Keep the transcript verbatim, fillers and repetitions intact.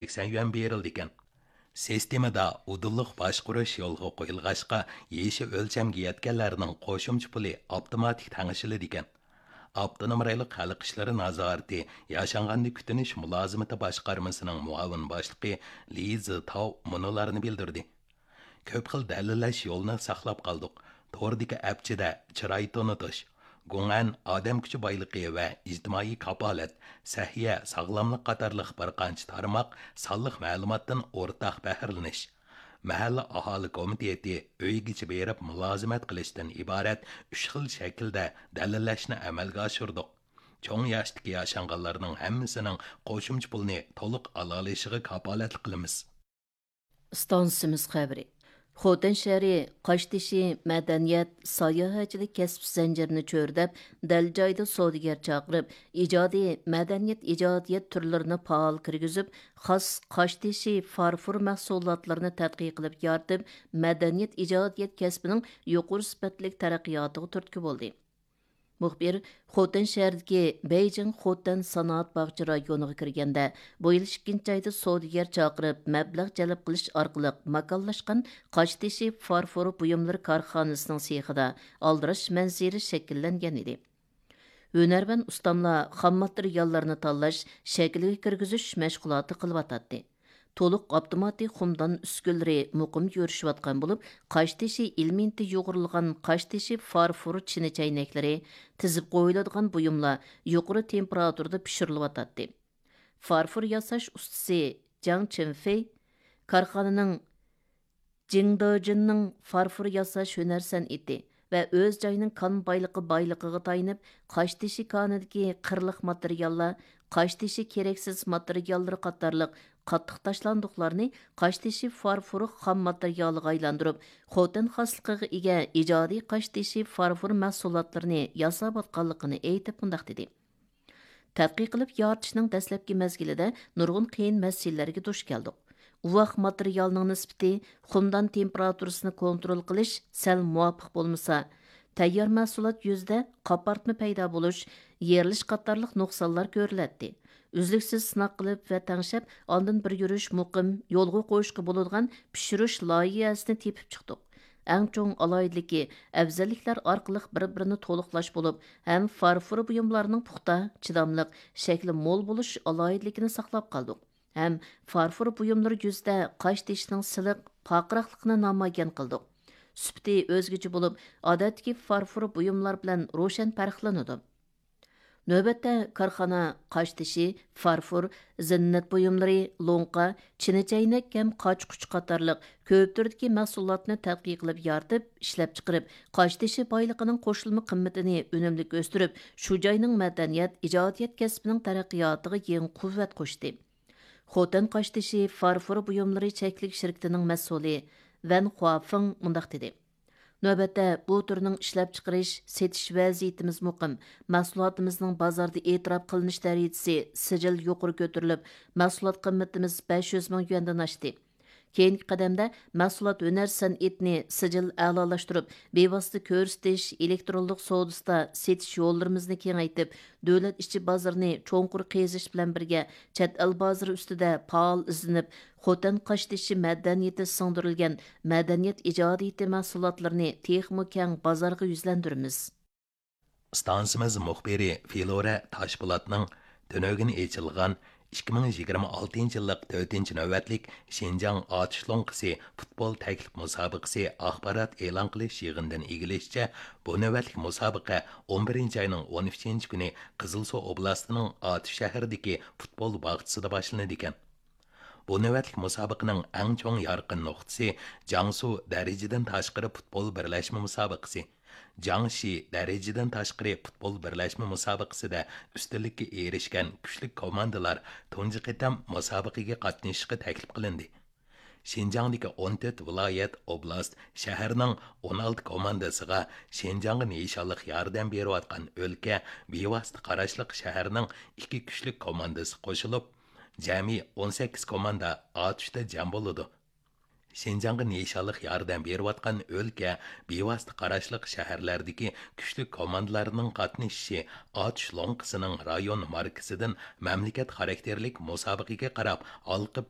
سەكسەن يۈەن بېرىلىدىكەن. سىستېمىدا ئۇدۇللۇق باشقۇرۇش يولغا قويۇلغاچقا، يېشى ئۆلچەمگە يەتكەنلەرنىڭ قوشۇمچە پۇلى ئاپتوماتىك تەڭشىلىدىكەن. ئاپتونوم رايونلۇق خەلق ئىشلىرى نازارىتى ياشانغاننى كۈتۈنۈش مۇلازىمىتى باشقارمىسىنىڭ مۇئاۋىن باشلىقى لى زىتاۋ مۇنۇلارنى بىلدۈردى. كۆپ خىل دەلىللەش يولىنى ساقلاپ قالدۇق. توردىكى ئەپچىدە چىراي تونۇتۇش، گۇڭئەن ئادەم كۈچى بايلىقى ۋە ئىجتىمائىي كاپالەت، سەھىيە، ساغلاملىق قاتارلىق بىر قانچە تارماق سانلىق مەلۇماتتىن ئورتاق بەھرىلىنىش، مەھەللە ئاھالە كومىتېتى ئۆيگىچە بېرىپ مۇلازىمەت قىلىشتىن ئىبارەت ئۈچ خىل شەكىلدە دەلىللەشنى ئەمەلگە ئاشۇردۇق. چوڭ ياشتىكى ياشانغانلارنىڭ ھەممىسىنىڭ قوشۇمچە پۇلنى تولۇق ئالالىشىغا كاپالەتلىك قىلىمىز. ئىستانسىمىز خەۋىرى. خوتەن شەھىرى قاشتېشى مەدەنىيەت، ساياھەتچىلىك كەسىپ زەنجىرىنى چۆرىدەپ، دەل جايىدا سودىگەر چاقىرىپ، ئىجادىي مەدەنىيەت ئىجادىيەت تۈرلىرىنى پائال كىرگۈزۈپ، خاس قاشتېشى فارفور مەھسۇلاتلىرىنى تەتقىق قىلىپ يارىتىپ، مەدەنىيەت ئىجادىيەت كەسپىنىڭ يۇقىرى سۈپەتلىك تەرەققىياتىغا تۈرتكە بولدى. مۇخبىر خوتەن شەھىرىدىكى بېيجىڭ خوتەن سانائەت باغچە رايونىغا كىرگەندە، بۇ يىل ئىككىنچى ئايدا سودىگەر چاقىرىپ، مەبلەغ جەلپ قىلىش ئارقىلىق ماكانلاشقان قاشتېشى فارفور بۇيۇملىرى كارخانىسىنىڭ سېخىدا ئالدىراش مەنزىرە شەكىللەنگەن ئىدى. ھۈنەرۋەن ئۇستاملار خام ماتېرىياللارنى تاللاش، شەكىلگە كىرگۈزۈش مەشغۇلاتى قىلىۋاتاتتى. تولۇق ئاپتوماتىك خۇمدان ئۈسكۈنىلىرى مۇقىم يۈرۈشۈۋاتقان بولۇپ، قاشتېشى ئېلېمېنتى يۇغۇرۇلغان قاشتېشى فارفور چىنە چەينەكلىرى، تىزىپ قويۇلىدىغان بۇيۇملار يۇقىرى تېمپېراتۇرىدا پىشۇرۇلۇۋاتاتتى. فارفور ياساش ئۇستىسى جاڭ چىنفېي كارخانىنىڭ جىڭدېجىننىڭ فارفور ياساش ھۈنەر سەنئىتى ۋە ئۆز جايىنىڭ كان بايلىقى بايلىقىغا تايىنىپ، قاشتېشى كانىدىكى قىرلىق ماتېرىياللار، قاشتېشى كېرەكسىز ماتېرىياللىرى قاتارلىق قاتتىق تاشلاندۇقلارنى قاشتېشى فارفورى خام ماتېرىيالىغا ئايلاندۇرۇپ، خوتەن خاسلىقىغا ئىگە ئىجادىي قاشتېشى فارفور مەھسۇلاتلىرىنى ياساۋاتقانلىقىنى ئېيتىپ مۇنداق دېدى. تەتقىق قىلىپ يارىتىشنىڭ دەسلەپكى مەزگىلىدە نۇرغۇن قىيىن مەسىلىلەرگە دۇچ كەلدۇق. ئۇۋاق ماتېرىيالنىڭ نىسبىتى، خۇمدان تېمپېراتۇرىسىنى كونترول قىلىش سەل مۇۋاپىق بولمىسا، تەييار مەھسۇلات يۈزىدە قاپارتما پەيدا بولۇش، يېرىلىش قاتارلىق نۇقسانلار كۆرۈلەتتى. ئۈزلۈكسىز سىناق قىلىپ ۋە تەڭشەپ، ئاندىن بىر يۈرۈش مۇقىم يولغا قويۇشقا بولىدىغان پىشۇرۇش لايىھەسىنى تېپىپ چىقتۇق. ئەڭ چوڭ ئالاھىدىلىكى، ئەۋزەللىكلەر ئارقىلىق بىر-بىرىنى تولۇقلاش بولۇپ، ھەم فارفور بۇيۇملارنىڭ پۇختا، چىداملىق، شەكلى مول بولۇش ئالاھىدىلىكىنى ساقلاپ قالدۇق. ھەم فارفور بۇيۇملىرى يۈزىدە قاشتېشىنىڭ سىلىق، پارقىراقلىقىنى نامايان قىلدۇق. سۈپىتى ئۆزگىچە بولۇپ، ئادەتتىكى فارفور بۇيۇملار بىلەن روشەن پەرقلىنىدۇ. نۆۋەتتە كارخانا قاشتېشى، فارفور، زىننەت بۇيۇملىرى، لوڭقا، چىنە چەينەك ھەم قاچا-قۇچا قاتارلىق كۆپ تۈردىكى مەھسۇلاتنى تەتقىق قىلىپ يارىتىپ، ئىشلەپچىقىرىپ، قاشتېشى بايلىقىنىڭ قوشۇلما قىممىتىنى ئۈنۈملۈك ئۆستۈرۈپ، شۇ جاينىڭ مەدەنىيەت، ئىجادىيەت كەسپىنىڭ تەرەققىياتىغا يېڭى قۇۋۋەت قوشتى. خوتەن قاشتېشى فارفور بۇيۇملىرى چەكلىك شىركىتىنىڭ مەسئۇلى ۋەن خۇافېڭ مۇنداق دېدى: نۆۋەتتە بۇ تۈرنىڭ ئىشلەپچىقىرىش، سېتىش ۋەزىيىتىمىز مۇقىم، مەھسۇلاتىمىزنىڭ بازاردا ئېتىراپ قىلىنىش دەرىجىسى سىجىل يۇقىرى كۆتۈرۈلۈپ، مەھسۇلات قىممىتىمىز بەش يۈز مىڭ يۈەندىن ئاشتى. كېيىنكى قەدەمدە مەھسۇلات ھۈنەر سەنئىتىنى سىجىل ئەلالاشتۇرۇپ، بىۋاسىتە كۆرسىتىش، ئېلېكترونلۇق سودىسىدا سېتىش يوللىرىمىزنى كېڭەيتىپ، دۆلەت ئىچى بازىرىنى چوڭقۇر قېزىش بىلەن بىرگە، چەت ئەل بازىرى ئۈستىدە پائال ئىزدىنىپ، خوتەن قاشتېشى مەدەنىيىتى سىڭدۈرۈلگەن مەدەنىيەت ئىجادىيىتى مەھسۇلاتلىرىنى تېخىمۇ كەڭ بازارغا يۈزلەندۈرىمىز. ئىستانسىمىز مۇخبىرى فلورا تاشپولاتنىڭ تۈنۈگۈن ئېچىلغان ئىككى مىڭ يىگىرمە ئالتىنچى يىللىق تۆتىنچى نۆۋەتلىك شىنجاڭ ئاتۇش لوڭقىسى پۇتبول تەكلىپ مۇسابىقىسى ئاخبارات ئېلان قىلىش يىغىنىدىن ئىگىلىشىچە، بۇ نۆۋەتلىك مۇسابىقە ئون بىرىنچى ئاينىڭ ئون ئۈچىنچى كۈنى قىزىلسۇ ئوبلاستىنىڭ ئاتۇش شەھىرىدىكى پۇتبول باغچىسىدا باشلىنىدىكەن. بۇ نۆۋەتلىك مۇسابىقىنىڭ ئەڭ چوڭ يارقىن نۇقتىسى جياڭسۇ دەرىجىدىن تاشقىرى پۇتبول بىرلەشمە مۇسابىقىسى، جياڭشى دەرىجىدىن تاشقىرى پۇتبول بىرلەشمە مۇسابىقىسىدە ئۈستۈنلۈككە ئېرىشكەن كۈچلۈك كوماندىلار تۇنجى قېتىم مۇسابىقىگە قاتنىشىشقا تەكلىپ قىلىندى. شىنجاڭدىكى ئون تۆت ۋىلايەت، ئوبلاست، شەھەرنىڭ ئون ئالتە كوماندىسىغا شىنجاڭغا نىشانلىق ياردەم بېرىۋاتقان ئۆلكە بىۋاسىتە قاراشلىق شەھەرنىڭ ئىككى كۈچلۈك كوماندىسى قوشۇلۇپ، جەمئىي ئون سەككىز كوماندا ئاتۇشتا جەم بولىدۇ. شىنجاڭغا نىشانلىق ياردەم بېرىۋاتقان ئۆلكە، بىۋاسىتە قاراشلىق شەھەرلەردىكى كۈچلۈك كوماندىلارنىڭ قاتنىشىشى ئاتۇش لوڭقىسىنىڭ رايون ماركىسىدىن مەملىكەت خاراكتېرلىك مۇسابىقىگە قاراپ ھالقىپ